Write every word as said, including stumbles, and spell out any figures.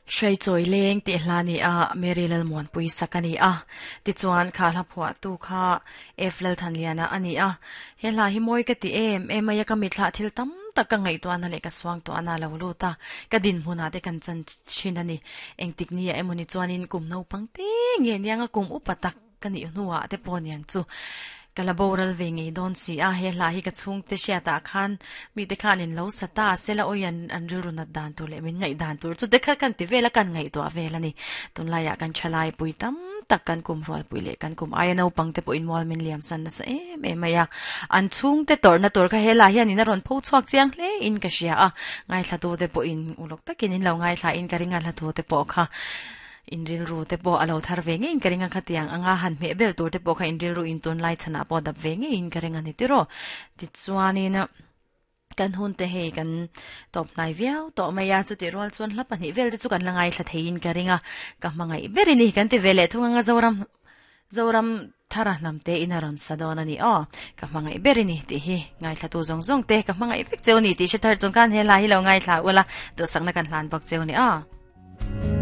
Hrei chawi leng tih hla ni a Mary Lalmuanpui sak a ni a tichuan kha hla phuah tu kha F Lalthanliana a ni a he hla hi mawi ka ti em em mai a ka mithla thil tam tak ka ngaihtuahna leh ka suang tuahna lo lut a ka dinhmunah te kan chan thin a ni engtik ni ah emawni chuanin kum naupang te nge nianga kum upa tak ka nih hnuah te pawh niang chu ka la boral ve ngei dawn si a he hla hi ka chhung te hriatah khan mi te khan in lo sa ta sela awi an an rilru nat dan tur leh min ngaih dan tur chu te kha kan ti vel a kan ngaihtuah vel a ni tunlaiah kan thalai pui tam tak kan kum rual pui leh kan kum aia naupang te pawh in mual min liam san nasa em em mai a an chhung te tawrhna tur kha helai hian in a rawn pho chhuak chiang hle in ka hria a ngaithla tu te pawh in uluk takin in lo ngaithla in ka ring a hla thu te pawh kha in rilru te pawh a lo thar ve ngei in ka ring a khatiang anga han hmeh bel tur te pawh kha in rilru in tunlai chhanah pawh dap ve ngei in ka ring a ni tiraw tichuanin kan hun te hei kan tawp hnai viau tawh mai a chuti rual chuan hla pahnih vel te chu kan la ngaithla theiin ka ring a ka hmangaih ber a ni kan ti ve leh thung anga Zoram Zoram thara hnam te in a rawn sa dawn a ni aw ka hmangaih ber a ni tih hi ngaithla tu zawng zawng te ka hmangaih vek cheu ni tih hre thar chung khan he lai hi lo ngaithla ula duhsakna kan hlan bawk cheu ni aw.